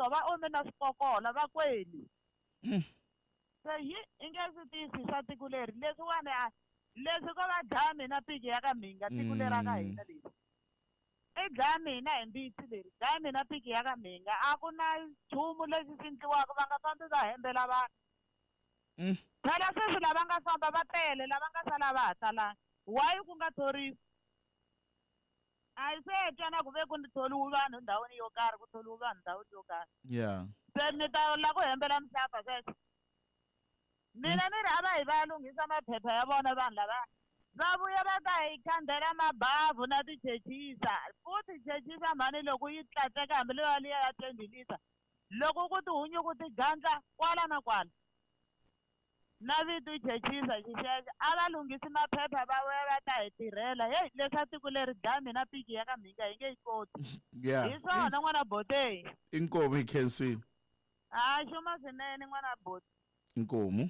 tshwa va ome na swikokola va kweli. Se yi i nge swi tisi swa tiko leri leswiwani a leswi ko va dlaya mina piki ya ka mhinga tiko leri ra ka hina leri. I dlaya mina hi mbitsi leri dlaya mina piki ya ka mhinga a ku na nchumu lexi xi endliwaka va nga fambi va hembela vanhu. Phela sweswi lava nga famba va tele lava nga sala va ha talanga why ku nga thoriwi? A hi se twa na ku ve ku thoriwi vanhu ndhawini yo karhi ku thoriwi vanhu ndhawini yo karhi. Se mi ta la ku hembela mihlapa sweswo. Mina ni ri a va yi va ya lunghisa maphepha ya vona vanhu lava va vuya va ta hi khandela mabavhu na tichechisa futhi chechisa mhani loko yi tlatleka hambi leyo liya ya 20 liter loko ku tihunyuku ti gandla kwala na kwala na vito i chechisa xixexo a va lunghisi maphepha va vuya va ta hi tirhela heyi leswa tiko leri dlaya mina piki ya ka mhinga hi nge yi koti hi swona n'wana botei Inkomu hi khensile. A xuma swinene n'wana boti. Inkomu.